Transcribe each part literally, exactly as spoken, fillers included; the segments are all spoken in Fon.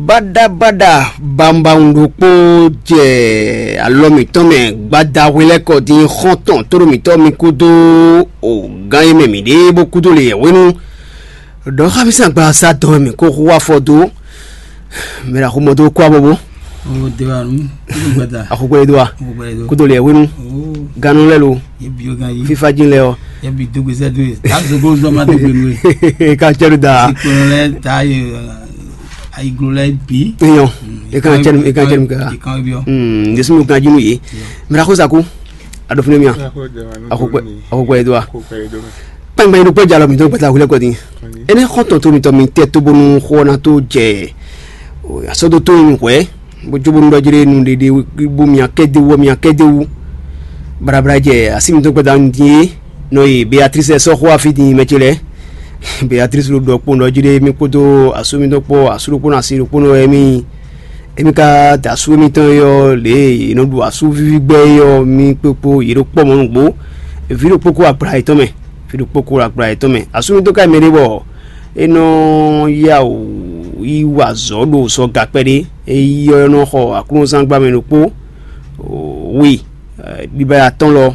Baɖabaɖa bawunbawun ɖokpó jɛ alɔ mǐtɔn mɛ gbada hwelɛ́kɔ dín xɔ́ntɔn tóɖo mǐtɔn mi kúdó o gán e mɛ mǐ ɖe bó kúdó le yɛ̌hwenu. Ɖɔ xá mì sín agbaza dɔn wɛ mǐ ko hu afɔ dó. Mɛ ɖo axomɔ dó kó abɔbɔ. O de wa nu. Kudo gbada. Axogbɛlɛ dó wa. Axogbɛlɛ dó. Kudo le yɛ̌hwenu. O. Ganu lɛ lo. Ye bi o gan yi. Fifa jin lɛ ɔ. Ye bi dogbe sɛ do ye. Ta zogo zɔ ma dogbe nu ye. Ka cɛ do da. Sikpɔnɔ lɛ ta ye. Ayiglo lɛ bi. Eyɔn. E kan cɛ e kan cɛ mi ka. E kan bi ɔ. Hmm. Ndesi mi kan jinu ye. Mɛ ɖo axo sa ko. A ɖo fínɛ́ mía. Axogbɛ axogbɛ do wa. Kpɛngbɛn ɖokpó jalɔ mǐtɔn gbɛta hwilɛ kɔ din. Énɛ́ xɔ́ntɔn to mǐtɔn mi tɛ tó bónú xó ɔ́ ná tó jɛ asɔ́dótó e nyí hwɛ̌, bó jó bónú ɖɔ jlé nu ɖeɖe bó mia kɛ́déwú ɔ́ mia kɛ́déwú. Blabla jɛ así mǐtɔn gbɛta nu din é, nɔ yi Beatrice sɔ́ xó afi din mɛ ce lɛ́ɛ. Beatrice ɖo ɖɔ kpó ɖɔ jlé mì kpódó asú mǐtɔn kpó asú ɖokpónɔ asi ɖokpónɔ wɛ mì. Émí ka da asú émítɔn e ɔ́, lě e è nɔ ɖu asú víví gbɛ́ é ɔ́, mì kpokpo yě ɖo kpɔ́ mɔ̌ nǔgbó. Vǐ ɖokpó kó agbla yětɔn mɛ, vǐ ɖokpó kó agbla yětɔn mɛ. Asú mì dó ká mɛ ɖé bɔ é nɔ yá wǔ yi wa azɔ̌ ɖo sɔ ga kpɛɖé. É yi ɔ́, é nɔ xɔ aklúnɔzán gbá mɛ ɖokpó. Wi, ɖiba atɔ́n lɔ,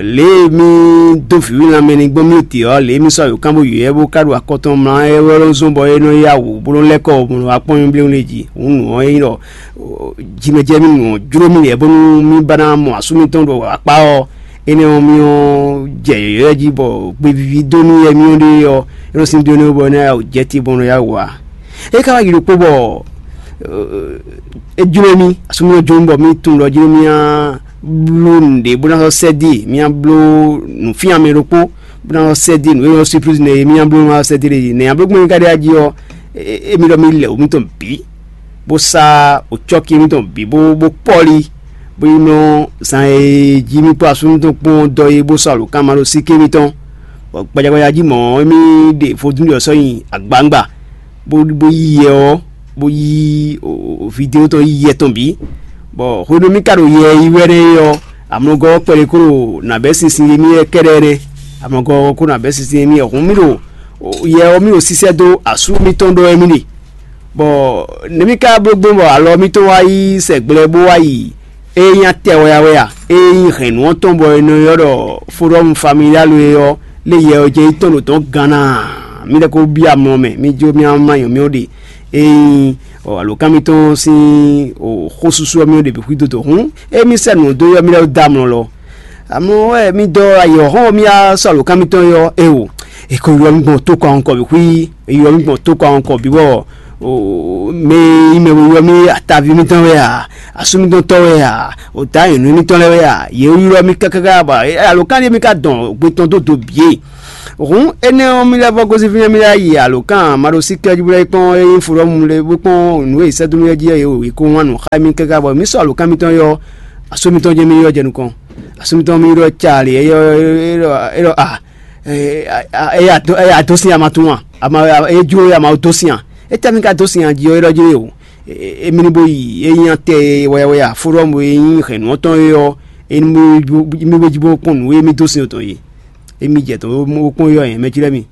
lě e mì dó vǐwínlanmɛ ní gbɔn mì te ɔ́, lě e mì sɔ́ ayǒkán bó yǒ ɛ bó ka ɖo akɔ tɔn mlá ɛ wɛ lɔ́ zɔ́n bɔ é nɔ yá wǔ bó nɔ́ lɛ́ kɔ bó nɔ́ wá kpɔ́n mì bléwún ɖé jí. Hǔn nǔ ɔ́ é nyí ɖɔ jimɛjɛ mì nǔ ɔ́ jló mì lɛ́ɛ bónú mì ba ná mɔ asú mǐtɔn ɖo akpá ɔ́, énɛ́ ɔ́ mì ɔ́ jɛ yɔ̌yɔ́ jí bɔ gbevíví dó nú yɛ mì ɔ́ ɖe ɔ́, é nɔ sín dó énɛ́ bɔ é ná yá wǔ jɛ te bó nɔ́ yá wǔ ǎ. É ka wá yi ɖokpó bɔ é jló mì, asú mì ɔ́ jló mì bɔ mì tunwun ɖɔ jló mì á bló nǔɖé bó ná sɔ́ sɛ́ dó e, mì á bló nǔfían mɛ ɖokpó bó ná sɔ́ sɛ́ dó e, nǔ e nyɔ́ síplísi nɛ́ e mì á bló ná sɔ́ sɛ́ dó e. Nɛ̌ nya bló gbɔn mì ka ɖe ají ɔ́, émí ɖɔ mì lɛ wǔ mǐtɔn bǐ, bó sá wǒcɔ́kí mǐtɔn bǐ bó bó pɔ́li, bó yi nɔ zan e jí mì kpó asú mǐtɔn kpɔ́n dɔ é bó sɔ́ alǒkanmaɖósíké mǐtɔn. Bɔ gbajagbaja jí mɔ̌, émí ɖe vodún ɖě ɔ́ sɔ́ nyi agbawungba, bó bó yí yɛ ɔ́, bó yí vidéo tɔn yí yɛ tɔn bǐ. Bɔ hwenu mì ka ɖo yɛ yi wɛ nɛ́ é ɔ́, amlɔgɔ́ ɔ́ kpɛɖé kó ɖo nǎ bɛ́ sinsin émí wɛ kɛ́ɖɛ́ nɛ́. Amlɔgɔ́ ɔ́ kó nǎ bɛ́ sinsin émí wɛ hǔn mì ɖo yɛ ɔ́ mì ɖo sísɛ́ dó asú mǐtɔn ɖɔ wɛ mì ɖe. Bɔ nɛ̌ mì ka bló gbɔn bɔ alɔ mǐtɔn wá yi sɛgblɛ bó wá yi ée nyí atɛ wɛ a wɛ a? Ée nyí hɛ̌nnu ɔ́ tɔn bɔ è nɔ ylɔ́ ɖɔ Forum Familial é ɔ́, lé yɛ ɔ́ jɛ yi tɔn ɖo tɔn gán ná? Mì lɛ́ ko byɔ́ amlɔ mɛ, mì jó mì ma nyɔ mì ó ɖe. Ée nyí alǒkan mǐtɔn sín xósúsú ɔ́ mì ó ɖe bǐ xwí dó dǒ hǔn, émí sɛ́ nǔ dó ylɔ́ mì lɛ́ɛ dó amlɔ lɔ. Amlɔ wɛ mì dɔ ayǐ ɔ́ xɔ́n mì wá sɔ́ alǒkan mǐtɔn é ɔ́, éeǒ, è ko ylɔ́ mì gbɔn tó kɔn kɔ bǐ xwí, è ylɔ́ mì gbɔn tó kɔn kɔ bǐ bɔ mɛ e nyí mɛ bo ylɔ́ mì ataví mǐtɔn wɛ a, asú mǐtɔn tɔ́ wɛ a, òtá nyɛ̌nu mǐtɔn lɛ́ɛ wɛ a, yě ylɔ́ mì káká bɔ alǒkan ɖé mì ka dɔn gbe tɔn dó do bǐ é. Hǔn énɛ́ ɔ́, mì lɛ́ vɔ́ gosín fínɛ́ mì lɛ́ yi alǒkan maɖosíkɛ́ jí bó lɛ́ yi kpɔ́n é nyí fodɔ́mu lé bó kpɔ́n nǔ e è sɛ́ dó mì ɔ́ jí é wě kó wán nǔ xá mì káká bɔ mǐ sɔ́ alǒkan mǐtɔn ɔ́, asú mǐtɔn jɛ́n mì ylɔ́ jɛ nukɔn. Asú mǐtɔn mì ylɔ́ ca lě é ɖɔ a é ya dó sin ama tún a? Ama é jló é ama dó sin a? Étɛ́ mì ka dó sin a jí ɔ́ é ɖɔ jí é o. Émí ní bó yi é nyí atɛ e wɛyawɛya fodɔ́mu e nyí hɛ̌nnu ɔ́ tɔn é ɔ́, émí bó jí bó kpɔ́n nǔ e mì dó sin tɔn é. Émí jɛ tɔn bó kpɔ́n yɔ yɛn mɛ cí lɛ́ɛ mi.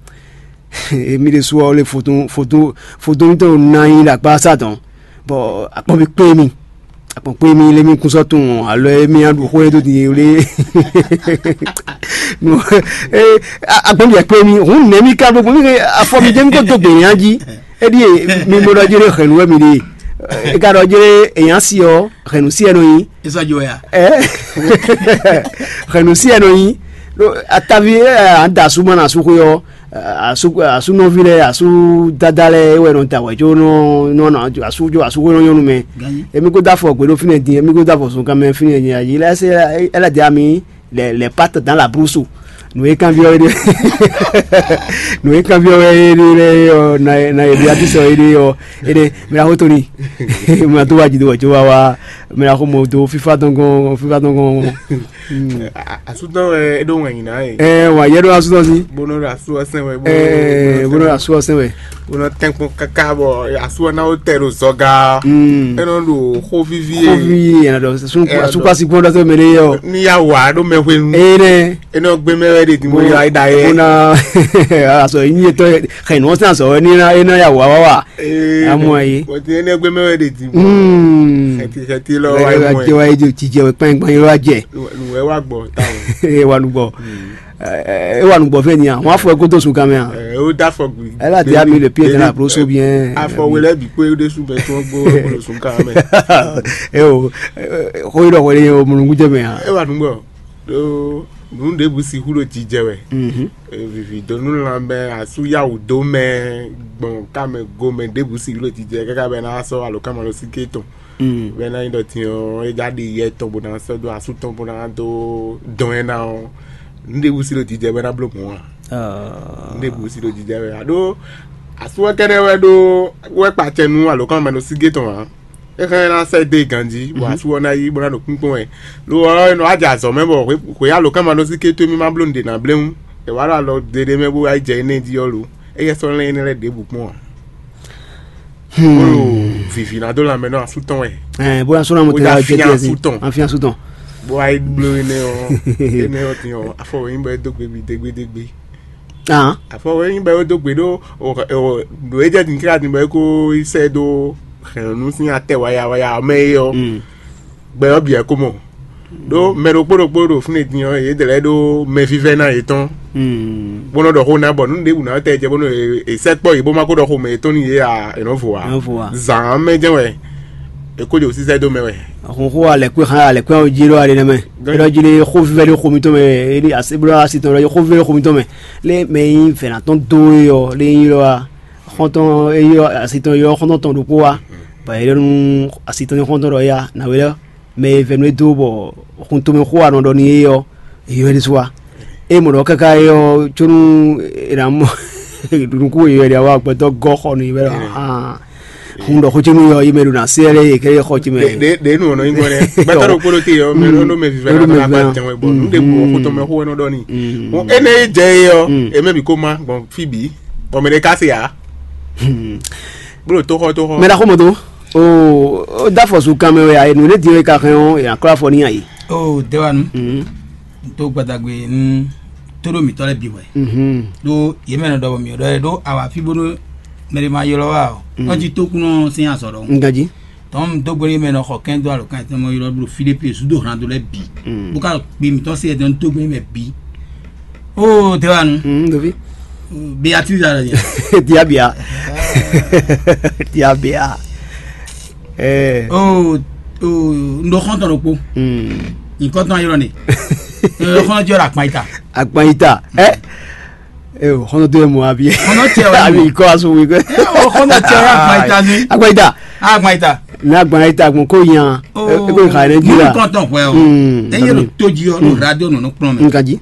Émí ɖésú ɔ́ lé fotún fotún fotún mítɔn ná nyí ɖo akpá sá tɔn, bɔ akpɔ́n bí kpé mì. Akpɔ́n kpé mì lé mì kún sɔ́ tunwun alɔ e mì ɖu xó e dó din é lé. Akpɔ́n bí kpé mì hǔn nɛ̌ mì ka bló gbɔn mì afɔ mi jẹ́ mi kó dó gbè nya jí. Éɖíe mi bo ɖɔ jí ɖé hɛ̌nnu wɛ mi ɖe. É ka ɖɔ jí ɖé èyán si ɔ́, hɛ̌nnu si ɛ nɔ nyi. Ìsɔjɔ ya. Ɛ hɛ̌nnu si ɛ nɔ nyi. Atavi ɛ à ń da asú ma na asú xwé ɔ́, asú asúnɔví lɛ́ɛ asú dada lɛ́ɛ é wɛ nɔ da wɛ jó nɔ nɔ asú jó asú xwé nɔ nyɔ́nu mɛ. Èmi kó dó afɔ gbé ɖó fínɛ́ din, èmi kó dó afɔ zunkan mɛ fínɛ́ din, ayi lɛ́ɛ se ɛ lɛ́ dɛ ami. Les, les pattes dans la brousse. Nǔ e kanbyɔ́ we ɖe nǔ e kanbyɔ́ we ɖe lɛ́ɛ ɔ́, na na ebi ati sɔ é ɖe ɔ́, é ɖe mira xó tóni. Ma tó wá jí dó wɔ jó wá wá Mɛ ɖaxó mɔ dó fífá tɔn gɔ́n, fífá tɔn gɔ́n. Asútɔ wɛ é ɖó wɛn yìí ná yìí. Ɛ wà yɛ ɖó asútɔ sí. Bónú ɖo asú ɔsɛn wɛ. Ɛ bónú ɖo asú ɔsɛn wɛ. Bónú tɛnkpɔn kaka bɔ asú ɔ́ ná wó tɛ ɖo zɔga. Ɛ nɔ ɖo xó víví. Xó víví yɛn ɖɔ. Asúkpasi gbɔn ɖɔ sɛ mɛ ɖé yɛ o. Ní yà wà ɖó mɛ hwenu. Ɛ nɛ. Ɛ nɔ gbé mɛ wɛ ɖe dìbò yà é da yɛ. Bónú asɔ yín yɛ tɔ xɛ nù ɔsɛn asɔ wɛ ní ná yà wà wá wà. Amɔ ayi. Bɔn ti ɛnɛ gbɛmɛ wɛ de di. Xɛti xɛti lɔ wa yi mɔ ɛ. Wa yi jijɛ wɛ kpɛn kpɛn wa jɛ. Nùwɛ wa gbɔ ta o. E wa nugbɔ. E wa nugbɔ fɛ nia. Wọn afɔ ẹ kó tó sun kan mɛ a. Ɛ o da fɔ gbi. Ẹ la di ami le pied de la broso bien. Afɔ wele bi kó e de sun bɛ tó gbó kó sun kan mɛ. E o. Xɔ yi dɔ xɔ yi o munukun jɛ mɛ a. E wa nugbɔ. Ɖó nǔ ɖěbǔ sixú ɖo jijɛ wɛ. Vivi dó nú lanmɛ asú yáwǔ dó mɛ gbɔn kámɛ gomɛ ɖěbǔ sixú ɖo jijɛ káká bɛ ná sɔ́ alǒkanmalɔsíké tɔn. Bɛ ná nyí ɖɔ din ɔ́ é já ɖe yɛ tɔn bó ná sɔ́ dó asú tɔn bó ná dó dɔn ɛ ná ɔ́, nǔ ɖěbǔ sí ɖo jijɛ bɛ ná bló mɔ̌ ǎ. Nǔ ɖěbǔ sí ɖo jijɛ wɛ aɖó asú ɔ́ kɛ́ɖɛ́ wɛ ɖó wɛ kpa acɛ nú alǒkanmalɔsíké tɔn ǎ. É hɛn ná sɛ́ dó ganjí bɔ asú ɔ́ ná yí bó ná ɖo kpínkpɔ́n wɛ. Lo ɔ́, é nɔ wá jɛ azɔ̌ mɛ bɔ hwe- hweyálǒkanmalɔsíké towe mì ma bló nǔɖé ná bléwún. È wǎ ɖo alɔ ɖeɖe mɛ bó wá yi jɛ énɛ́ jí ɔ́ lo. Éyɛ́ sɔ́ lɛ́n énɛ́ lɛ́ɛ ɖěbǔ kpɔ́n ǎ. Bó ɖo vǐvǐ ná dó lanmɛ nɔ asú tɔn wɛ. Ɛ bó ná sɔ́ ná mo Bó tɛ yá ɔ́ jɛ fín tiɛ asú tɔn. Afín asú tɔn. Bó wá yi bló énɛ́ ɔ́ énɛ́ ɔ́ din ɔ́, afɔ wɛ nyí bɔ é dó gbe mì dégbédégbé. Ahán. Afɔ wɛ nyí bɔ é dó gbe ɖó o o ɖo é jɛ din kíkà din bɔ é kó yi sɛ dó hɛ̌nnu sín atɛ waya waya mɛ é ɔ́. Mm. Gbɛ ɔ́ bǐ wɛ ko mɔ. Ɖó mɛ ɖokpó ɖokpó ɖo fínɛ́ din ɔ́, yě dlɛ́ ɖó mɛvívɛ́ná yětɔn. Mm. Bó nɔ ɖɔ xó ná bɔ nǔ ɖěbǔ ná tɛ jɛ bónú è sɛkpɔ́ yě bó má kó ɖɔ xomɛ yětɔn n'i yě a è nɔ vo ǎ. Nɔ vo ǎ. Zǎn mɛ jɛ́n wɛ è kó ɖo sísɛ́ dó mɛ wɛ. Xɔxɔ alɛkpé xá alɛkpé ɔ́ jí ɖó aɖe nɛ́ mɛ. Gán- Ɖɔ jí lé xó vívɛ́ ɖé xó mitɔn mɛ, é ní así bló así tɔn ɖɔ xó vívɛ́ ɖé xó mitɔn mɛ. Lé mɛ nyí vɛ̌natɔ́n dó é ɔ́, lé nyí ɖɔ wá. Xɔ́ntɔn é yɔ asitɔn yɔ xɔ́ntɔn tɔn ɖokpó wá, bɔ é ɖɔ nú asitɔn xɔ́ntɔn ɖɔ éyá nǎwe lɛ́ɛ mɛ e vɛ́ nú é dó bɔ xuntomɛ xó wa nɔ ɖɔ nú é ɔ́, é yɔ é ɖésú wá. É mɔ ɖɔ káká é ɔ́ có nú è nǎ mɔ nukún e yɔ é ɖe wá gbɛtɔ́ gɔ́ xɔ nú é wɛ ɖɔ hǎn. Hun ɖɔ xó có nú yɔ é mɛ ɖo ná se lɛ́ɛ é kɛ́ɖɛ́ xɔ ce mɛ. Ɖě nǔ ɔ́ nɔ nyí gbɔn nɛ gbɛtɔ́ ɖokpó ɖo te yɔ mɛ ɖo mɛ vivɛ ɖo mɛ vivɛ bɔ nú ɖe bu ɔkú tɔn mɛ xó wɛ nɔ ɖɔ ni. Ene yi jɛ é ɔ́, eme bǐ ko má gbɔn fí bǐ bɔ mɛ ɖé ká se ǎ. Bó ɖo tóxɔ tóxɔ. Mɛ ɖaxó mɔ tó. O o da fɔ su kan mɛ wɛ a, nǔ ɖé din wɛ ka hɛn ɔ́, yě ná klɔ́ afɔ ní ayi. O dewanu. N tó gbadagbe n tó ɖo mǐtɔn lɛ́ɛ bǐ hwɛ. Ɖó yě mɛ nɔ ɖɔ bɔ mǐ ɖɔ ɖó awa fí bónú mɛ ɖé ma ylɔ́ wa ɔ́, ɔ́ jí tókúnɔ sín azɔ̌ ɖɔhun. N ganjí. Tɔn dó gbe n'i mɛ nɔ xɔ kɛn dó alɔkan tɛn mɔ ylɔ ɖo fí ɖé pe zúdo hlan dó lɛ bǐ. Bó ka kpi mǐtɔn se ɛdɔn dó gbe n'i mɛ bǐ. Ó tɛ wa nu. Dovi. Beatrice alɔ yɛ. Diabia. Diabia. Ɛɛ. Ó ó ndo xɔntɔn ɖokpo. Nkɔtɔn ylɔ ne. Ndo xɔntɔn ylɔ akpan ita. Akpan ita. Ɛ. Ee, xɔnɔ tó yɛ mɔ abi. Xɔnɔ tɛ wɛ. Abi kɔ aso wi kɛ. Ee, o xɔnɔ tɛ wɛ agbaita ni. Agbaita. Agbaita. Ní agbaita gbɔn kó yan. Eko ìka yẹn jí la. Kɔntɔn hwɛ o. Eye lo tó jí ɔ lo radio nɔnɔ kplɔn mɛ. Nka jí.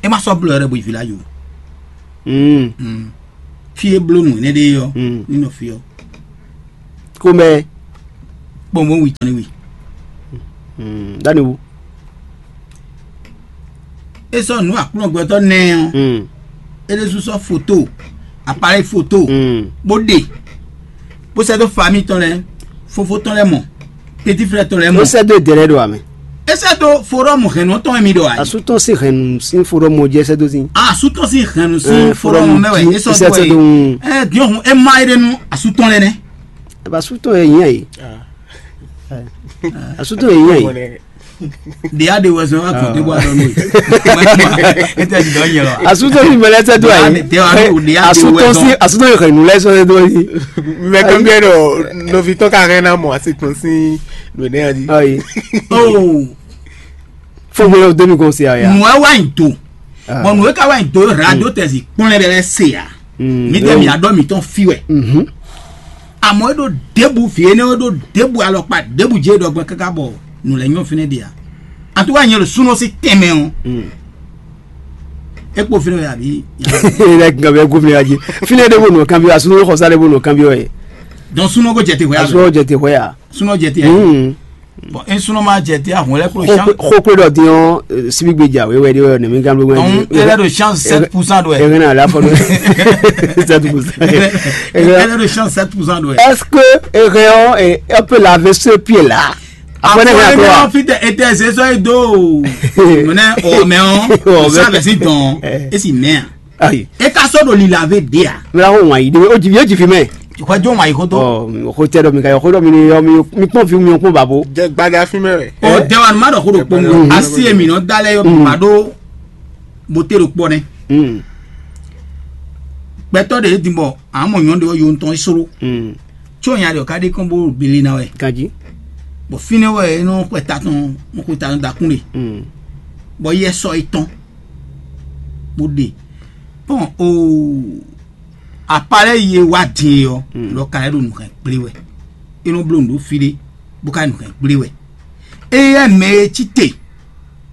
E ma sɔ blɔ yɛrɛ bo yi vila yo. Fi e bló nu ne ɖe yɔ. Ní nɔ fi ɔ. Kó mɛ. Kpɔnbɔn wi tɔn ni wi. Dani wu. E sɔ́ nǔ akplɔ́ngbɛtɔ́ nɛ́ ɔ́, é ɖésú sɔ́ foto, appareil foto, bó ɖe, bó sɛ́ dó famille tɔn lɛ́ɛ, fofó tɔn lɛ́ɛ mɔ, petit frère tɔn lɛ́ɛ mɔ. Ó sɛ́ dó èdè lɛ́ɛ ɖo ame. É sɛ́ dó forum hɛ̌nnu tɔn mi ɖo ayǐ. Asú tɔn sín hɛ̌nnu sín forum ɔ́ jí é sɛ́ dó sín. Asú tɔn sín hɛ̌nnu sín forum mɛ wɛ é sɔ́ dó ayǐ. Ɛ diɔhun é má é ɖe nú asú tɔn lɛ́ɛ nɛ́. Asú tɔn yɛ yín ayǐ. Asú tɔn yɛ yín ayǐ. Ɖe aɖe wɛ zɔn wa gbɔn ɖe bɔ aɖɔ nɔ yi. Ete di dɔ nyɛ lɔ. Asutɔ ni mɛlɛ tɛ do ayi. Asutɔ si asutɔ yi xɛnu lɛ sɔ do yi. Mɛ kan bi ɛdɔ nɔvi tɔ ka hɛn na mɔ asi tɔn si nɔ ne adi. Ayi. Oh. Fo gbɛ demi kɔn si aya. Nua wa yi to. Bɔn nua ka wa yi to radio tɛ si kpɔn lɛ bɛ lɛ se ya. Mi tɛ mi adɔ mi tɔn fi wɛ. Àmọ́ é ɖó ɖěbǔ vǐ énɛ́ ɔ́ ɖó ɖěbǔ alɔkpa ɖěbǔ jɛ ɖɔgbɛ́ káká bɔ nǔ lɛ́ɛ nyɔ́ fínɛ́ ɖe ǎ. Atuka nyɛ ɖo súnɔ sín tɛnmɛ ɔ́. É kpo fínɛ́ wɛ àbí? Ilẹ̀ gànbẹ́ kó fínɛ́ wájú. Fínɛ́ ɖé bó nù kánbí wa, súnɔ xɔsá ɖé bó nù kánbí wɛ. Dɔn súnɔ kó jɛ te hwɛ. Asúnɔ jɛ te hwɛ ya. Súnɔ jɛ te hwɛ. Bon, un sûrement jɛ te ahun lɛ klo chance. Xokwe ɖɔ din ɔ́, sibi gbe ja wɛ wɛ ɖe wɛ nɛmi gan bló wɛ. Donc, elle est de chance sept pour cent doit. Eren na la fɔ do sept pour cent. Elle est de chance sept pour cent doit. Est-ce que Eren ɔ́, elle peut laver ce pied là? Après ne rien quoi. Fite ete se so e do. Mene o me on. O sa be si don. E si me. Ayi. E ka sɔ ɖo lila ve ɖe a? Mira ko ŋwa yi ɖe o jivi o jivi mɛ. Xɔ jo ŋwa yi xo to. Ɔ xo tɛ ɖɔ mi ka yɔ xo ɖɔ mi ni yɔ mi mi kpɔn vi mi kpɔn babo. Jɛ gbada fi mɛ wɛ. O dɛwa ma ɖɔ xo ɖo kpɔn asi emi nɔ da lɛ yɔ ma ɖo bote ɖo kpɔ nɛ. Gbɛtɔ ɖe din bɔ amɔ nyɔ ɖe yɔ ntɔn soro. Tso nya ɖe o ka ɖe kɔn bo bili na wɛ. Ganji. Bɔ fine wɛ e nɔ xɔ ta tɔn mo xɔ ta tɔn dakun ɖe. Bɔ yɛ sɔ etɔn bo ɖe. Bon, o apalɛ ye wa din ɔ lɔ ka lɛ ɖo nǔ hɛn kplé wɛ. E nɔ bló nǔ ɖó fi ɖé bó ka nǔ hɛn kplé wɛ. Eyɛ mɛ e cí te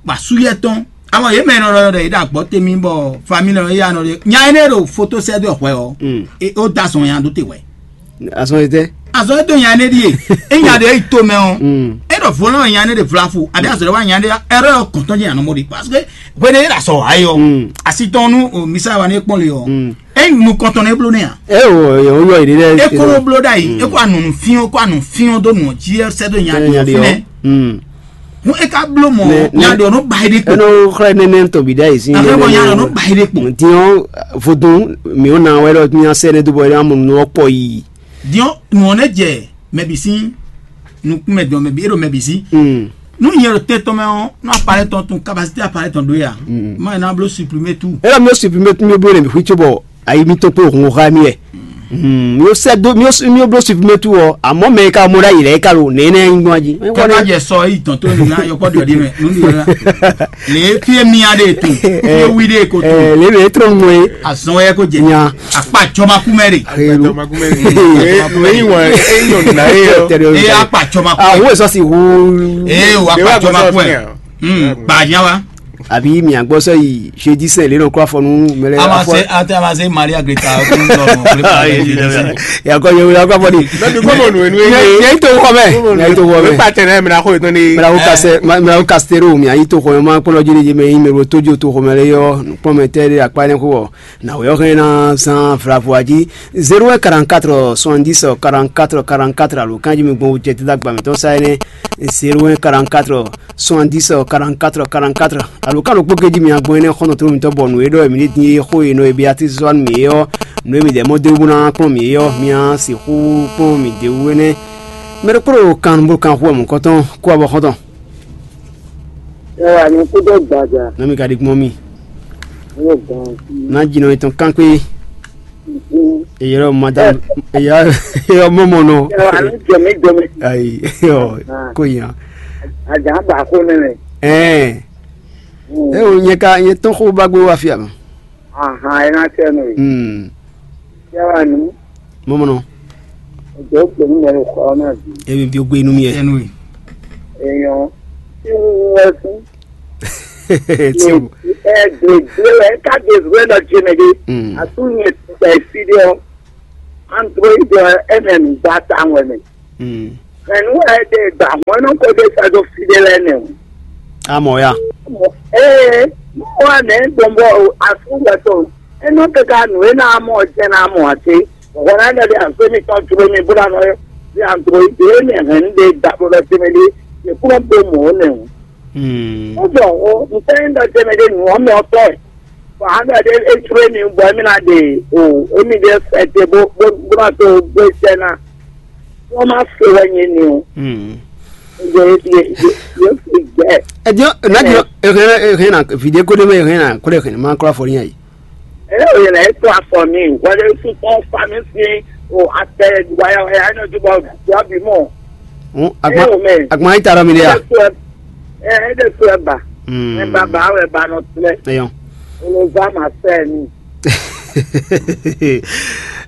bɔ asú yɛ tɔn. Awɔ yě mɛ nɔ ɖɔ ɖɔ yě ɖo agbɔ temi bɔ famille nɔ yá nɔ ɖe nya énɛ́ ɖo foto sɛ́ dó hwɛ ɔ. E ó da zɔn nya ɖó te hwɛ. Azɔn etɛ. Azɔn e dó nya énɛ́ ɖíe. E nya ɖe yi to mɛ ɔ. E ɖɔ vo nɔ nya énɛ́ ɖe vlafu. Abi azɔ ɖe wa nya énɛ́ ɖe ɛrɛ yɔ kɔntɔn jɛ nya nɔ mɔ ɖi parce que hwene e ɖo asɔ wa yɔ. Asi tɔn nu o misa wa ne kpɔn le ɔ. E nukɔntɔn ne bló ne a. E o yɔ yɔ yi ɖe. E kolo bló ɖa yi. E ko anu fiɔn ko anu fiɔn dó nɔ jí sɛ dó nya ɖi ɔ fi nɛ. Hun e ka bló mɔ nya ɖɔ nɔ ba yi ɖe kpo. Ɛnɔ xlɛ nɛnɛ tɔ bi ɖa yi sin. Afɛ bɔ nya ɖɔ nɔ ba yi ɖe kpo. Diɔn vodun mi o na wɛ ɖɔ nya sɛ ne do bɔ ya mo nɔ kpɔ yi. Diɔn nɔ ne jɛ mɛ bi sin nukun mɛ dɔn mɛ bi e ɖo mɛ bi sin. Nu nyɛ ɖo tɛ tɔn mɛ ɔ nɔ apalɛ tɔn tun capacité apalɛ tɔn do ya. Ma na blo supprimer tout. E la mi o supprimer tout mi o blo ne mi xwi tso bɔ ayi mi to kpo hun xa mi yɛ. Mi o sɛ do mi o mi o blo supprimer tout ɔ amɔ mɛ ka mo ɖa yi lɛ ka lo nɛ nɛ nyi gbɔn ji. Kaka jɛ sɔ eyi tɔn to nu na yɔkpɔ diɔ di mɛ nu di la. Le fie mi a de to fie wi de ko to. Le be trɔ ŋmɔ ye. Azɔn yɛ ko jɛ. Nya. Akpa jɔma kumɛ de. Eyi wa eyi nɔ na ye yɔ. E akpa jɔma kumɛ. Awo esɔ si wu. Ee o akpa jɔma kumɛ. Ba nya wa. Àbí mi àgbọ́ sọ yìí jeudi saint lè nọ kó afọ nú mẹlẹ. A ma se ate a ma se Maria Greta. Yakọ yẹ wẹlẹ akọ afọ ni. Yẹ yìí tó wọ mẹ. Yẹ yìí tó wọ mẹ. Pàtẹ náà mìíràn kó ètò ni. Mìíràn kó kastero mi àyí tó xɔ mẹ máa kpọ́nlọ́ jí ní jẹ́ mẹ yín mẹ ro tójú tó xɔ mẹ lé yọ kpọ́n mẹ tẹ́ lé akpá ní kó wọ. Na wɛ ɔ́ hɛn ná zán vlavo jí zéro un quarante-quatre soixante-dix quarante-quatre quarante-quatre alo kanjí mi gbɔn wújɛ dídá gbàmítɔn sa énɛ́ zéro un quarante-quatre soixante-dix quarante-quatre quarante-quatre alo ká ló kpó kéjí mi agbɔn énɛ́ xɔ́ntɔn tó mitɔn bɔ nǔ e ɖɔ mi ní dín é xó e nɔ e bí atínsínsɔ́ mi é ɔ́ nǔ e mi dɛ mɔ dó bó ná kplɔ́n mi é ɔ́ mi á sixú kplɔ́n mi dě wú énɛ́. Mɛ ɖokpó ɖo kan bó kan xú wɛ mɔ̌kɔtɔn kó abɔ xɔ́ntɔn. Ẹ wà ní kúndé gbàjà. Nami ka di gbɔn mi. Ní o gbọ́n sí. Na dzi nɔ etɔn kankpe. Mhm. Eyɔrɔ madam eyɔrɔ mɔmɔ nɔ. Ẹ wà ní jọmí jọmí. Ayi yɔ ko yan. Àjà ń bà kó nínú. Ɛɛ. E o nyɛ ka nyɛ tɔn xo ba gbé wa fia ma. Ahan, ẹ ná tẹ nù. Hmm. Ẹ wà ní. Mɔmɔ nɔ. Ọjọ́ pé ní ẹ̀rọ kọ́ náà bí. Emi bi o gbé inú mi yɛ. Ẹnu yìí. Èèyàn tí ń wọ́n fún. Tí o. Ẹ gbègbè ẹ ká gbègbè lọ jìnnà dé. Hmm. Àtúnyẹ tẹ̀ sí dé ọ. Android ẹ ẹ̀ ń gbà táwọn ẹ̀. Hmm. Ẹnu ẹ dé gbà wọn náà kó dé sọ́dọ̀ fìdí lẹ́nu. Amọ̀ ya. Ee, mo wà ní gbọ̀ngbọ̀ àtúwẹ̀tọ̀. Ẹnu kíkà nù ẹ náà mọ̀ ọ̀jẹ̀ náà mọ̀ àti. Ọ̀gá náà dẹ̀ àfẹ́ mi tán dúró mi búra náà yọ. Bí àǹtọ̀ ìdè mi hàn ń dé dàbọ̀ lọ sí mi lé. Ìkúrò ń bẹ mọ̀ ọ́ nìyẹn. Hmm. Ó bọ̀ ọ́, nǹkan ń dọ̀ jẹ́ mi dé nù ọ́ mi ọ̀tọ̀ ẹ̀. Bọ̀ á dọ̀ dé é dúró mi bọ̀ ẹ́ mi náà dé o, é mi dé fẹ́ dé bó bó bó náà tó gbé jẹ́ náà. Wọ́n máa fi wá yẹn ni o. Hmm. Yóò fi gbẹ. Ẹ jẹ́ ẹ náà jọ ẹ hẹ́n ẹ hẹ́n náà fìdí kó dé mẹ́ ẹ hẹ́n náà kó dé hẹ́n máa kó afọ níyà yìí. Ẹ yóò yẹn náà ẹ tó afọ mi wọlé fún fún fami sí o àtẹ wáyà wáyà ẹ náà tó bá wà bí mọ. Ẹ yóò mẹ. Àgbọn ayé tààrọ mi dé yà. Ẹ ẹ dẹ tó ẹ bà. Hmm. Ẹ bà bà ẹ bà nọ tilẹ. Ẹ yọ. Olùbá màá fẹ́ mi.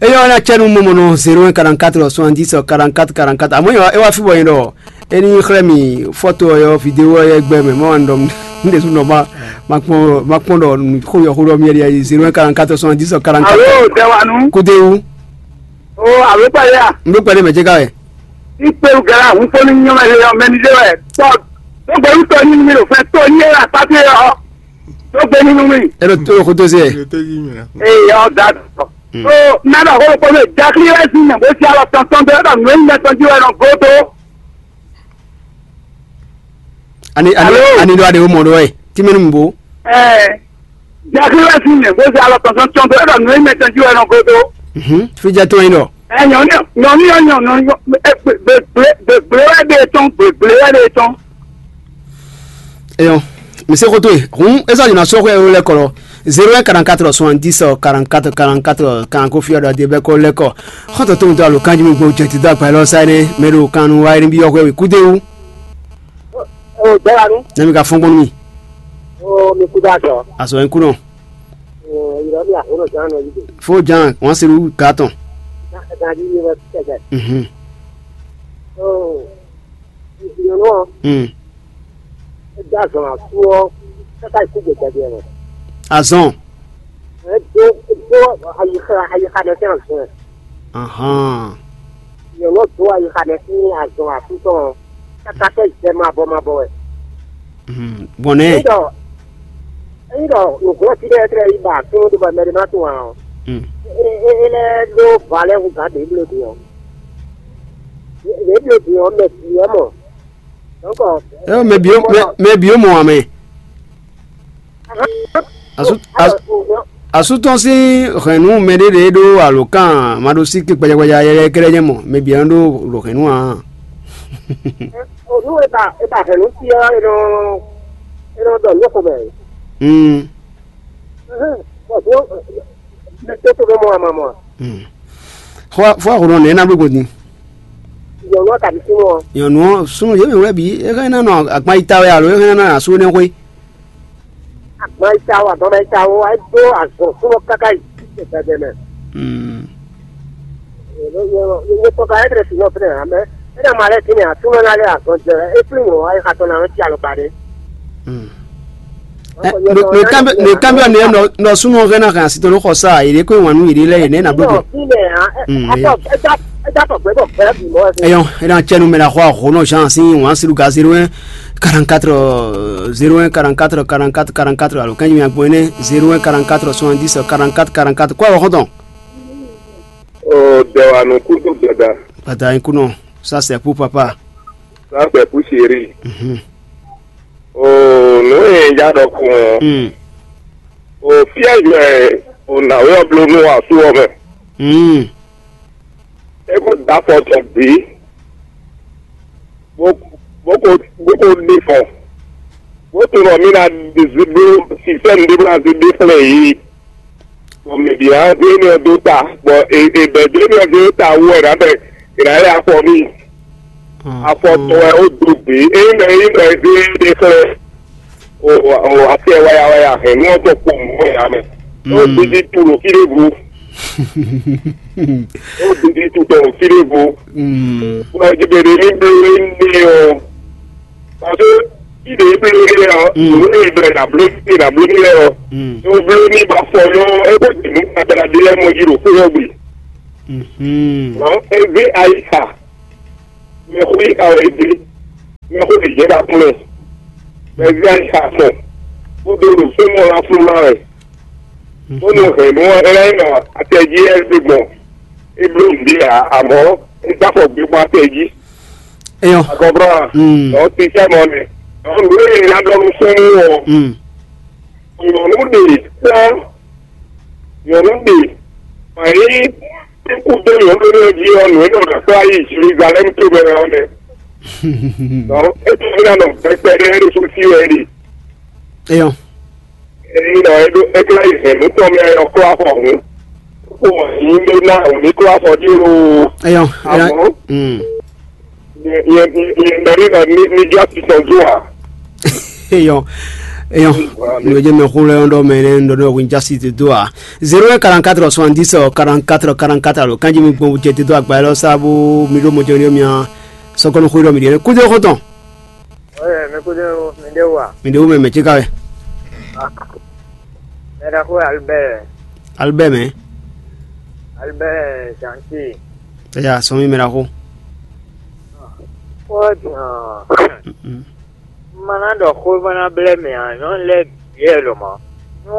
Eyɔ na cɛnu mɔmɔ nɔ zéro un quarante-quatre soixante-dix quarante-quatre quarante-quatre. Amɔ yɔ e wa fi bɔ yin dɔ. Eni xlɛ mi foto yɔ vidéo yɛ gbɛ mɛ mɔ an dɔm. N de su nɔ ma ma kpɔn ma kpɔn dɔ ko yɔ ko dɔ mi yɛ zéro un quarante-quatre soixante-dix quarante-quatre. Alo, Dewanu. Kudewu. O, alo pale ya. N do pale mɛ je ka wɛ. Ikpéwú gɛlá hun kpó ní nyɔ́mɛ lé ɔ́, mɛ ní ɖé wɛ tɔ́. Tó gbé wú tɔ́ ní mi ɖo fɛn tó ní é wɛ akpákpé ɔ́. Tó gbé nínú mi. Ɛ ɖo tó xótó se. Ee, ɔ́ da tɔ. Ó, mɛ ɖɔ xó kpó mɛ jakli wɛ sí nyɛ bó sí alɔ tɔntɔn dó ɖɔ nǔ é nyɛ tɔn jí wɛ nɔ gó dó. Ani ani Alo? Ani ɖo aɖe wo mɔ ɖo wɛ. Tí mɛ nu mi bo. Ɛ, jakli wɛ sí nyɛ bó sí alɔ tɔntɔn tɔn dó ɖɔ nǔ é nyɛ tɔn jí wɛ nɔ gó dó. Mhm. Fi jɛ tɔn yi ɖɔ. Ɛ, nyɔnu nyɔnu nyɔnu nyɔnu ɛ, gbe- gbe- gbe- gbegblé wɛ ɖe tɔn, gbegblé wɛ ɖe tɔn. Eyɔn, mi se xótó e hǔn é sɔ́ yi ná sɔ́ xwé éwo lɛ́ɛ kɔ lɔ. Zéro un quarante-quatre soixante-dix quarante-quatre quarante-quatre quarante ko fí ɔ́ ɖɔ adé bɛ́ kɔ lɛ́ kɔ. Xɔ́ntɔn tó ń dó alo kanjí mi gbó jɛ ti dó agba élɔ́ sá énɛ́ mɛ ɖo kan nu wá énɛ́ byɔ́ xwé wě kúdé wú. O dɔwanu. Nɛ mi ka fɔ́n gbɔn nú mi. O mi kú dá sɔ. Azɔ ń kú nɔ. O yìrɔ mi àhónɔ ján nɔ yìí. Fó ján wọ́n se rú gǎ tɔn. Gàdí mi wɛ kẹ̀kẹ́. Mhm. O ìyọ̀nù ọ̀. Mm. É dó azɔn asú ɔ́ káká ikú gbègbè mɛ. Azɔn. É dó é dó ayixa ayixa mɛ sín azɔn. Ahán. Nyɔ̌nu ɔ́ dó ayixa mɛ sín azɔn asú tɔn ɔ́, káká tɛ́ zɛ mabɔ mabɔ wɛ. Mhm. Bɔn nɛ́. Ényí ɖɔ ényí ɖɔ nǔglɔ́ fí ɖɛ́ tlɛ yi ba súnnu ɖé bɔ mɛ ɖé má tunwun ǎ ɔ́, Mm. é é é lɛ́ ɖó va lɛ́ hú gǎn ɖě bló ɖě ɔ́. Ɖě bló ɖě ɔ́ mɛ bǐ wɛ mɔ. Dɔ̌nkɔ É mɛ bǐ mɛ mɛ bǐ mɔ ǎ mɛ. Asú asú asú tɔn sín hɛ̌nnu mɛɖé ɖě ɖó alǒkan maɖósíké gbajagbaja yɛyɛ kɛ́ɖɛ́ nyɛ mɔ mɛ bǐ ɔ́ ɖó ɖo hɛ̌nnu ǎ. Nú e ba e ba hɛ̌nnu fí ɔ́, e nɔ e nɔ ɖɔ nǔ xo mɛ. Mm. Bɔ dó mɛ tó tó ɖó mɔ ama mɔ. Mm. Xɔ fɔ xɔ nɔ nɛ na bló gbɔn din. Nyɔ̌nu ɔ́ kabi súnnu ɔ́. Nyɔ̌nu ɔ́ súnnu yě mɛ wɛ bǐ é hɛn ná nɔ agban yi ta wɛ alo é hɛn ná asú énɛ́ xwé. Agban yi ta wɛ agban yi ta wɛ wá dó azɔ̌ súnnu káká yi gbɛgbɛ mɛ. Mm. Nyɛ tɔn ka ɛdrɛ si nɔ fɛnɛ amɛ. Ɛdrɛ ma lɛ kini atúmɔ na lɛ azɔn jɛ. E flin wɔ ayi xatɔ na nɔ ti alɔ ba ɖe. Mm. Nɔkanbyɔ nɛ nɔ súnmọ́ hɛn ná hɛn asitɔ ló xɔ sá yě kó wan nú yě lɛ yě nɛ ná bló gbé. Eyɔn, é ná cɛ numero xɔ ahó nɔ Jean si wan silu ga zéro un quarante-quatre zéro un quarante-quatre quarante-quatre quarante-quatre alo kɛnyi mi agbo ne zéro un quarante-quatre soixante-dix quarante-quatre quarante-quatre kó awɔ xɔntɔn. O dɛwanu kudo dada. Bàtà yín kú nọ, ça c'est pour papa. Ça c'est pour chéri. Mhm. O nǔ e ja ɖɔ kún ɔ́, Mm. O fíɛ́ yɔ ɛ o nǎwe ɔ́ bló nú asú ɔ́ mɛ. Mm. É kó da afɔ tɔn bǐ, bó bó ko bó ko ɖe fɔ, bó tunɔ mí ná zí bló sistɛ́mu ɖé bó ná zí ɖe xlɛ́ yě. Bɔ mɛ bǐ ná zé énɛ́ ɔ́ dó ta, bɔ è è bɛ̌ dó énɛ́ ɔ́ zé dó ta wú wɛ ná bɛ è nǎ lɛ afɔ n'i. Afɔ tɔn wɛ ó dó gbě, ényí mɛ é nyí mɛ zé é ɖe xlɛ́ o o atɛ waya waya hɛn nú ɔ́ tɔn kpowun mɔ̌ yǎ mɛ. Ó dídí tu ɖo fí ɖěvo, ó dídí tu tɔn ɖo fí ɖěvo. Bɔ jí bɛ ɖe ní bló énɛ́ ɔ́. Parce que si ɖe bló n'i lɛ ɔ, Mm. Nǔ e blɛ na bló si na bló n'i lɛ ɔ, Mm. Nú bló n'i ba fɔ yɔ, é ko ti nú gbadagba ɖé lɛ́ɛ mɔ jí ɖo xó ɔ́ gbe. Mhm. Nɔ é zé ayi xa, mɛ xó yi xa wɛ é zé, mɛ xó yi jɛ ɖa kún mɛ, mɛ zé ayi xa fɔ, bó dó ɖo fó mɔ la fún ma wɛ, bó nɔ hɛn nú ɛ lɛ́ nɔ atɛ jí ɛ zé gbɔn, é bló nǔɖé ǎ, amɔ̌ é dó afɔ gbé gbɔn atɛ jí. Eyɔn. Agɔbra. Mm. Ɔ ti sɛ mɔ nɛ. Ɔ nǔ e ná ɖɔ nú súnnu ɔ. Mm. Nyɔnu ɖe kpɔn. Nyɔnu ɖe. Ayi. Kú dó nyɔnu ɖe jí ɔ nǔ e nɔ ɖɔ kpla yi Jerusalem tó bɛ ɔ nɛ. Ɔ e tó fi na nɔ pɛpɛ ɖe ɖo fún sí wɛ ɖi. Eyɔn. Eyi nɔ eɖo eklá yi hɛn nú tɔn mɛ ɔklá xɔ hǔn. Kó wɔ yín ɖó ná òní klá xɔ dí lo. Eyɔn. Eyɔn. Àmọ́. Mm. Yɛn yɛn yɛn nɔ ní nɔ ní ní jɔ ti tɔn dó a. Eyɔn. Eyɔn. Nìyẹn jẹ́ mɛ xó lɛ ɔ́ ɖɔ mɛ nɛ ŋɖɔ ɖɔ wín jásí ti dó a. Zéro un quarante-quatre soixante-dix quarante-quatre quarante-quatre alo kanjí mi gbɔn jɛ ti dó agba yɛ lɔ sábó mi ɖó mɔjɔ ní mia sɔkɔnɔ xó ɖɔ mi ɖi kúdé xó tɔn. Oye, mi kúdé mi ɖé wà. Mi ɖe wo mɛ mɛ tsi ka wɛ. Mɛ ɖaxó Albert. Albert mɛ. Albert Gentil. Eya sɔmi mɛ ɖaxó. Xó ɔ́ din ɔ́, un ma ná ɖɔ xó bó ná blɛ́ mɛ ǎ, nyɔ̌nu lɛ́ɛ bǐ wɛ lɔmɔ̌. Nú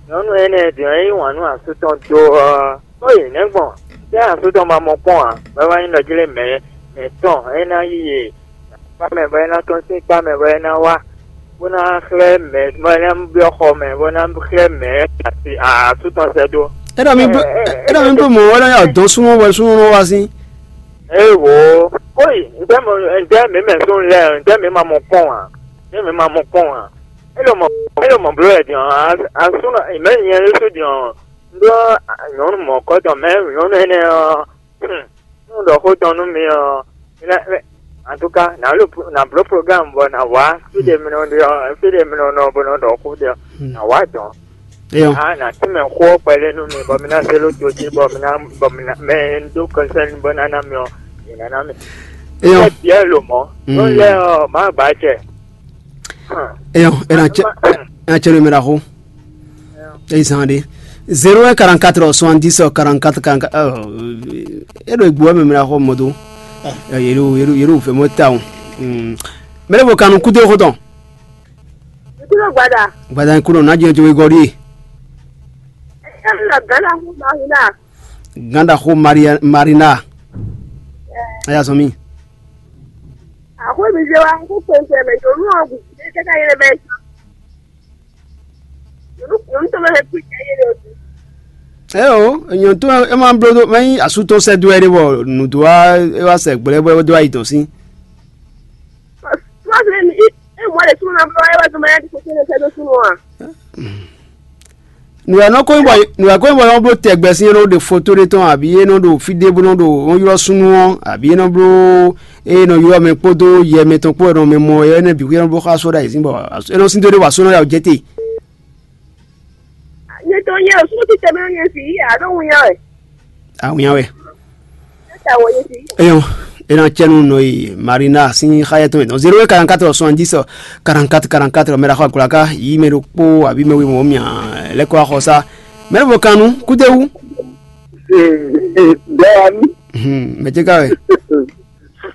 nyɔ̌nu énɛ́ din ɔ́, é yí wǎn nú asú tɔn dó ɔ́, ó yi nɛ̌ gbɔn? Tɛ́ asú tɔn ma mɔ kpɔ́n ǎ, bɔ é wá nyí ɖɔ jlé mɛ mɛ̌tɔn é ná yí yě kpá mɛ bɔ é ná tɔ́n sín kpá mɛ bɔ é ná wá, bó ná xlɛ́ mɛ bɔ é ná byɔ́ xɔ mɛ bó ná xlɛ́ mɛ asi asú tɔn sɛ́ dó. É ɖɔ mi bló, é ɖɔ mi bló mɔ̌ wɛ lɔ yá dɔn súnmọ́ wɛ súnmọ́ wá sín. Ée wǒ, kóyi, ntɛ́ mɔ ntɛ́ mǐ mɛ súnnu lɛ́ɛ, ntɛ́ mǐ ma mɔ kpɔ́n ǎ, ntɛ́ mǐ ma mɔ kpɔ́n ǎ. É ɖo mɔ é ɖo mɔ bló wɛ din ɔ́, asúnɔ mɛ̌ nyɛ ɖésú din ɔ́, un ɖó nyɔ̌nu mɔ̌kɔ́tɔn mɛ nyɔ̌nu énɛ́ ɔ́, nú un ɖɔ xó tɔn nú mi ɔ́, mi ná, mi, en tout cas, nǎ bló nǎ bló programme bɔ nǎ wá fí ɖe mi nɔ ɖe ɔ́, fí ɖe mi nɔ nɔ bó nɔ ɖɔ xó ɖe ɔ́, nǎ wá dɔn. Eyɔn. Ah, nǎ tínmɛ xó ɔ́ kpɛɖé nú mi, bɔ mi ná zé ɖó to jí, bɔ mi ná, bɔ mi ná, mɛ e un dó kɔnsɛ́n bó ná ná mi ɔ́, yě ná ná mi. Eyɔn. Ɛ biɛ lo mɔ. Mm. Nɔ lɛ ɔ, má ba jɛ. Eyɔn, e na cɛ, e na cɛ numéro xo. E zan de. Zéro un quarante-quatre soixante-dix quarante-quatre quarante-quatre. E ɖo egbu wɛ mɛ mɛ xɔ mɔ do. Yɛ ɖo yɛ ɖo yɛ ɖo fɛ mɔ ta o. Mɛ ɖe bo kanu kudo xo tɔn. Kudo gbada. Gbada kudo na jɛ jɛ gɔri. Ɛ lɔ gana hu ma hu na. Ganda xo Maria, Marina. Aya sɔmi. Axwé mi zé wa kó kpɛnkpɛn mɛ nyɔnu ɔ́ gǔ dé kɛ́kɛ yé mɛ. Nyɔnu nyɔnu tɔn mɛ hɛn kú jɛ yé ɖo dú. Ɛ o, nyɔnu tɔn ɛ ma bló dó mɛ nyí asú tɔn sɛ dó ɛ ɖé bɔ nǔ dó wá é wá sɛ gblɛ bɔ é dó ayi tɔn sín. Sɔ sɔ mi é mɔ ɖe súnú na bló ɛ wá dó mɛ yá di kókó ne sɛ dó súnú a. Nǔ e nɔ ko nyí bɔ nǔ e ko nyí bɔ nɔ bló tɛgbɛ sín é nɔ ɖe foto ɖé tɔn abǐ é nɔ ɖo fí ɖé bó nɔ ɖo nɔ ylɔ́ súnnu ɔ́ abǐ é nɔ bló é nɔ ylɔ́ mɛ kpódó yɛ mɛ tɔn kpó é nɔ mɛ mɔ é nɔ bǐ xwé é nɔ bló xá só ɖ'ayǐ sín bɔ é nɔ sín dó ɖé wa só nɔ ya jɛ te. Nyɛ tɔn nyɛ o súnnu títɛ mɛ nyɛ fi yí alo ŋu nya wɛ. Awǐnya wɛ. Eyɔn, e na cɛ nu nɔ yi Marina sín xá yɛtɔn yɛtɔn zéro un quarante-quatre soixante-dix quarante-quatre quarante-quatre mɛ ɖaxɔ agblaka yí mɛ ɖokpó abǐ mɛ wěmɔ mia lɛ́ kɔ axɔsá mɛ ɖo kan nu kúdéwú. Bɛ́ɛni. Mɛ ce ka wɛ.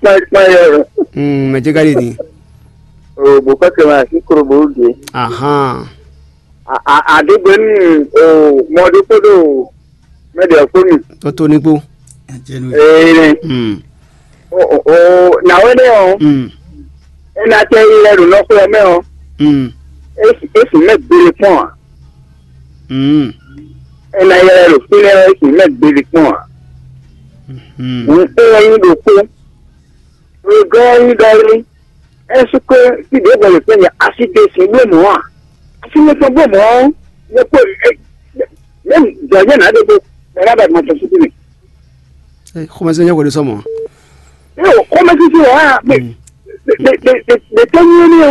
Kpáyé kpáyé wɛ. Mɛ ce ka ɖe din. O bò kɔsɛ ma sí koro bò ɖe. Ahan. Aɖegbenu o mɔ ɖokpó ɖo mɛ ɖe ɔ́ kpó mi. Tó tó ní kpó. Ee. Hmm. O o o nàwé nɛ ɔ. Hmm. Ena tɛ yi lɛ ɖo nɔxɔ ɔ mɛ ɔ. Hmm. Esi esi mɛ gbele kpɔn a. Hmm. Ena yi lɛ ɖo fi lɛ esi mɛ gbele kpɔn a. Hmm. Ŋun e wɛ nyi ɖokpó. Gɔ́ ɔ́ nyí ɖɔ é, ɛ́súkwe fí ɖěvo le fɛ́ nyɛ asi ɖe sin bló mɔ̌ a? Asi nukɔn bló mɔ̌ ɔ́, nyɛ kpo mɛ̌ dɔ̌ nyɛ nǎ ɖe kpo mɛ ná ba ma tɔn fúkú mɛ. Xɔmɛsɛn nyɛ hwɛɖe sɔmɔ. Ɛ o xɔmɛsɛn wá mɛ ɖe tɛ nyɛ ní o.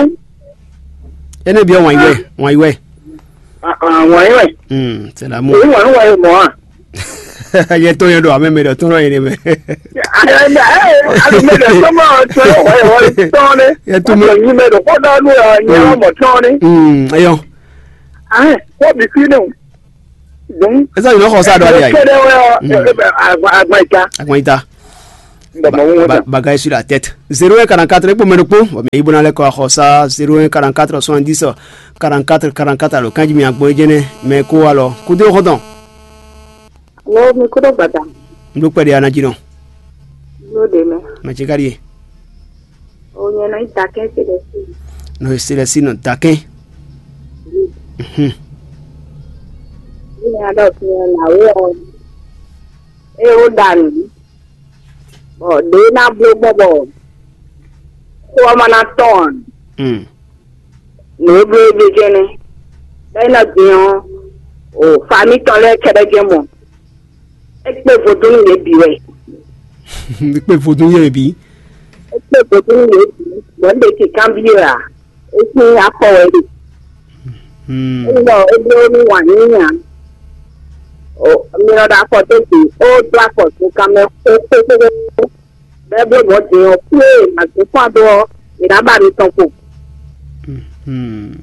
Ene biɔ wan iwɛ wan iwɛ. Wan iwɛ. Hmm, c'est l'amour. Èyí wan iwɛ mɔ̌ a? Yɛ tó yɛ ɖo amɛ mɛ ɖɔ tó nɔ yɛ ne mɛ. Ayi mɛ ɖɔ tó mɔ tó yɛ wɔ tɔn ne. Yɛ tó mɛ. Nyi mɛ ɖo kpɔdɔ nu yɛ nyɛ wɔ mɔ tɔn ne. Hmm, eyɔ. Ayi kɔ bi fi ne o. Donc esa yìí lọ xɔ sa dɔ de ayi. Kɛdɛ wɛ ɔ agba ita. Agba ita. Bagay sur la tête. Zéro un quarante-quatre e kpó mɛ ɖokpó. Bon, mais i bɔna lɛ kɔ xɔ sa zéro un quarante-quatre soixante-dix quarante-quatre quarante-quatre alo kanji mi agbɔn jɛnɛ mɛ ko alɔ kudo xɔtɔn. Wo mi kudo gbada. Ndo kpɛ de ana jinɔ. Lo de mɛ. Mɛ ce ka di ye. O nyɛ nɔ ita kɛ se de si. Nɔ se de si nɔ ta kɛ. Mhm. Ni ada o tiɲɛ na wo ɔ. E o da nu. Bɔ ɖě ná bló gbɔn bɔ xó ɔ́ ma ná tɔn ǎ. Nǔ e bló é ɖe jɛ́n nɛ́. Bɔ é nɔ din ɔ́, o famí tɔn lɛ́ɛ kɛ́ɖɛ́ jɛ́n mɔ. É kpé vodúnnú yě bǐ wɛ. É kpé vodún yé bǐ. É kpé vodúnnú yě bǐ. Bɔ un ɖe kǐnkanbyɔ́ ǎ. É sín afɔ wɛ ɖe. Hmm. Ényí ɖɔ é bló nú wǎn yíyí ǎ, mi nɔ ɖo afɔ dó gbe, ó dó afɔ zunkan mɛ xóxóxóxó, bɔ é bló mɔ̌ din ɔ́, fí e è nǎ zun fán dó ɔ́, è nǎ ba mi tɔn kpo. Hmm.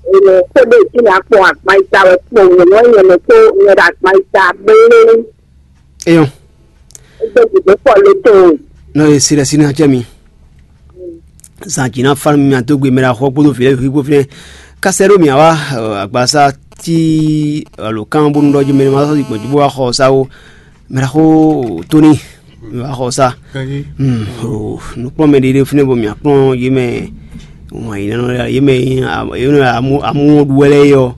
È nɔ xó ɖé jí nǎ kpɔn agban yíta wɛ kpo nyɔ̌nu ɔ́ nyɛ mɛ kpó nyɛ ɖo agban yíta blé. Eyɔn. É gbé gǔdo kpɔ lóto. Nɔ e si ɖe si ná cɛ mi. Zan jǐ ná fá nú mi, adó gbe mɛ ɖaxó kpódó vǐ lɛ́ɛ bǐ xwíxwó fínɛ́. Ká sɛ́ ɖó mì ǎ wá, agbasá tí alo kán bónú ɖɔ jí mɛ ma sɔ́ gbɔn jí bó wá xɔ ɔ́ sá ó. Mɛ ɖaxó Tóní, mi wá xɔ ɔ́ sá. Nǔkplɔ́nmɛ ɖé ɖé fínɛ́ bɔ mǐ kplɔ́n yě mɛ wǎn yǐ nɔ yě mɛ amú ɖu wɛ lɛ́ɛ é ɔ́.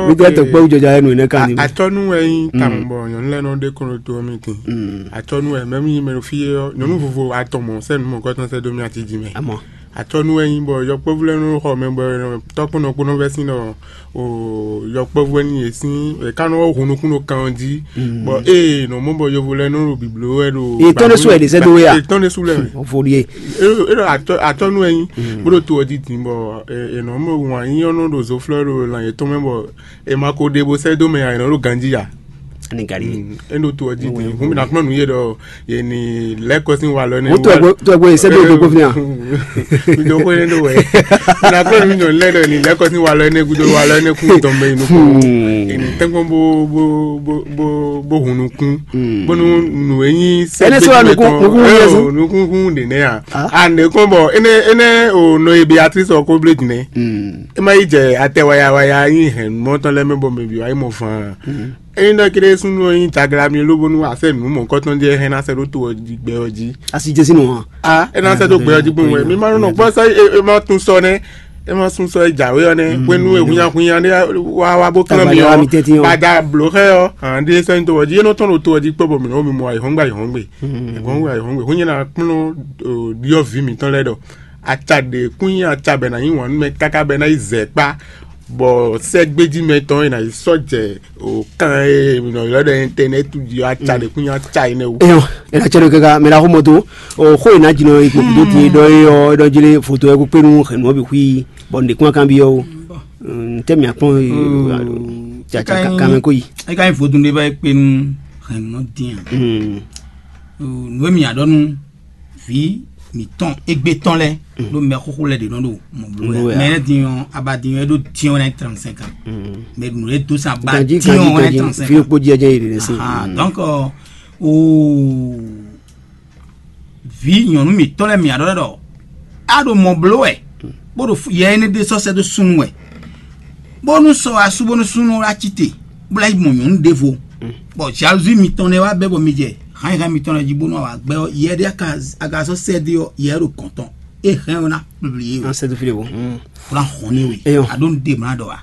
Mi tɛ tɔkpɛ́ wújɔjɔ ayɛ nǔ énɛ́ kan ní. Atɔ́nú wɛ nyí tawun bɔ nyɔ̌nu lɛ́ɛ nɔ ɖe kɔn ɖo to ɔ́ mɛ din. Atɔ́nú wɛ mɛ mi mɛ ɖo fí é ɔ́, nyɔ̌nu vovo atɔn mɔ sɛ́ nǔ mɔ̌kɔtɔn sɛ́ dó mì atíjí mɛ. Amɔ atɔ́nú wɛ nyí bɔ yɔkpɔ́vú lɛ́ɛ nɔ xɔ mɛ bɔ tɔ́kpɔ́nɔ kpó nɔ vɛ́ sín ɖɔ o yɔkpɔ́vú wɛ ní yě sín è ká nɔ hun nukún ɖo kan ɔ́ jí. Bɔ ée nɔ mɔ bɔ yovo lɛ́ɛ nɔ ɖo bǐbló wɛ ɖo Etɔ́n ɖésú wɛ è ɖe sɛ́ dó we a? Etɔ́n ɖésú lɛ́ɛ wɛ. Vɔɖi e. É ɖɔ atɔ́nú wɛ nyí bó ɖo to ɔ́ jí din bɔ è nɔ mɔ wǎn nyí ɔ́ nɔ ɖo zoflɔ́ ɖo lan yětɔn mɛ bɔ è ma ko ɖe bó sɛ́ dó mɛ ǎ, è nɔ ɖo ganjí ǎ. Ani gari. É ɖo to ɔ́ jí din hǔn mi ná kplɔ́n nǔ yé ɖɔ yě ní lɛ́ kɔ sín walɔ nɛ́. Ó tó ẹgbẹ́ tó ẹgbẹ́ yìí sẹ́dọ̀ òdòkó fi hàn. Ìdókòwò yẹn ló wẹ̀. Nàkó mi nyọ̀ lẹ́dọ̀ ní lẹ́kọ̀ọ́ sí walɔ ẹni gúdó walɔ ẹni kú tọ̀mọ inú kú. Èmi tẹ́gbọ́n bó bó bó bó bó hun nukún. Bónú nù e nyí Ẹni sọ wa nukún, nukún wúnyẹ sún. Nukún dènè à. Àndé kún bọ̀ ẹnẹ ẹnẹ ò nọ ebi atri sọ kó blé dìnnẹ. Ẹ má yi jẹ atɛ waya waya yín hɛn mɔtɔn lɛ mɛ bɔ mɛ bi wa yi mɔ fan. Ényí ɖɔ kéɖé súnnu ɔ́ nyí taglá mì lóbónú a sɛ́ nǔ mɔ̌hunkɔtɔn ɖé hɛn ná sɛ́ ɖó to ɔ́ jí gbɛ ɔ́ jí. A si jɛ sín nǔ hɔn. A é ná sɛ́ dó gbɛ ɔ́ jí gbɔn wɛ mi ma nɔ gbɔ sɔ é ma tún sɔ nɛ é ma sún sɔ é jǎwe ɔ́ nɛ hwenu e hunnyahunnya ɖé wá wá bó klɔ́n mi ɔ́ bada blǒ xɛ ɔ́ hàn ɖé sɔ́ nyí to ɔ́ jí é nɔ tɔ́n ɖo to ɔ́ jí kpɔ́ bɔ mǐ nɔ mi mɔ ayǐhɔ́ngbe ayǐhɔ́ngbe ayǐhɔ́ngbe ayǐhɔ́ngbe húnyɛ ná kplɔ́n ɖyɔ́vǐ mǐtɔn lɛ́ɛ ɖɔ aca ɖě kún nyi aca bɔ è nǎ yí wǎn nú mɛ káká bɔ è ná yi zɛ kpá bɔ sɛ́gbéjí mɛtɔn e ná yi sɔ́ jɛ o kan e nɔ ylɔ́ ɖɔ internet jí aca ɖě kún nyi aca énɛ́ wú. Eyɔn, ena cɛ ɖo kaka mɛ ɖaxó mɔ do o xó ena dzi nɔ yi kpɔkú dó tin ɖɔ é ɔ é ɖɔ jí lé foto ɛ kó kpé nú hɛ̌nnu ɔ́ bǐ xwí bɔ nǔɖé kún akan byɔ́ o. Ntɛ́ mǐ akpɔ́n caca kanmɛ kó yi. É ka nyí vodún ɖé bá é kpé nú hɛ̌nnu ɔ́ dín ǎ. Nǔ e mǐ nya ɖɔ nú vǐ mǐtɔn égbé tɔn lɛ́ɛ ɖó mɛ xóxó lɛ́ɛ ɖě nɔ ɖo mɔ bló wɛ. Mɛ lɛ́ɛ din ɔ́, aba din ɔ́, é ɖó din ɔ́ wɛ ná nyí trente cinq ans. Mɛ nǔ e dó sɛn aba din ɔ́ wɛ ná nyí trente cinq ans. Fi kpó jí ɛjɛ yi ɖě sɛn. Donc o vǐ nyɔ̌nu mǐtɔn lɛ́ɛ mǐ ɖɔ ɖɔ a ɖo mɔ bló wɛ bó ɖo yɛ énɛ́ ɖé sɔ́ sɛ́ dó súnnu wɛ bónú sɔ asú bónú súnnu wá cí te bó ná yi mɔ nyɔ̌nu ɖěvo bɔ jalousie mitɔn nɛ́ wá bɛ́ bɔ mi jɛ hǎnnyihán mitɔn lɛ́ɛ jí bónú awǎ gbɛ́ ɔ́ yɛ ɖé aka sɔ́ sɛ́ dó ɔ́ yɛ ɖo kɔn tɔn é hɛn ɔ́ ná kplivli é. An sɛ́ dó fí ɖěvo. Bó ná hɔn ní we aɖó nu ɖe mlá ɖɔ wa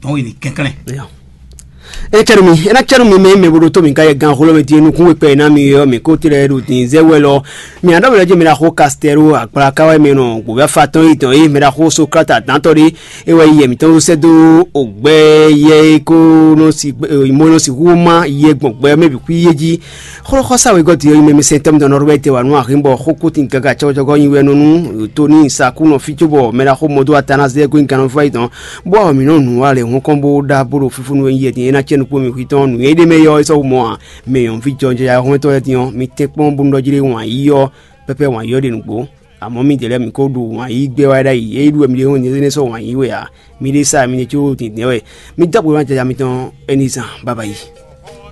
tɔn we ní kɛnklɛ́n. Ecɛnu mi ena cɛnu mi mɛ mɛ bo ɖo to mi ka yɛ gan xolo mi ti nukun we kpɛ na mi yɔ mi ko tirɛ ɖo tin zɛ wɛ lɔ mi aɖɔ mi lɔ je mi la xo kastɛro akpla ka wɛ mi nɔ gbɔbɛ fa tɔn yi tɔn yi mi la xo Sokrate atantɔ ɖe e wɛ yɛ mi tɔn sɛ do ogbɛ yɛ ko nɔ si mo nɔ si hu ma yɛ gbɔn gbɛ mɛ bi kui yé ji. Xlɔ́xɔ́sá wegɔ́ din ɔ́ nyí mɛ mi sɛn tɛ́ mi dɔn nɔ ɖɔ bɛ te wa nú axin bɔ xó kútin káká cɔ́gɔ́cɔ́gɔ́ nyi wɛ nɔ nú Tóni Saku nɔ fí cóbɔ mɛ ɖaxó mɔdó Atanazɛɛ gɔ́ nyi gannɔfá yi tɔn bó awɔ mǐ nɔ nǔ wa lɛ hɔn kɔn bó ɖa bó ɖo fífúnú e nyí yɛ din é ná cɛ nukpó mi hwitɔ́n nǔ e ɖ'é mɛ yɔ́ é sɔ́ wú mɔ ǎ. Mɛ nyɔ̌nu ví jɔjɔya hɔnmɛtɔ́ lɛ́ɛ din ɔ́, mi tɛ́nkpɔ́n bónú ɖɔ jí ɖé wǎn yíyí ɔ́ pɛ́pɛ́ wǎn yíyí ɔ́ ɖe nǔgbó. Amɔ̌ midɛɛ lɛ́ɛ mi ko ɖo wǎn yíyí gbɛ́ wá ɖ'ayǐ, é ɖu wɛ mi ɖe hɔn nyɛ énɛ́ sɔ́ wǎn yíyí wɛ ǎ. Mi ɖésú mi ɖe có dǐndɛ́n wɛ. Mi dó agbo ná jaja mitɔn ɛnizan baba yi.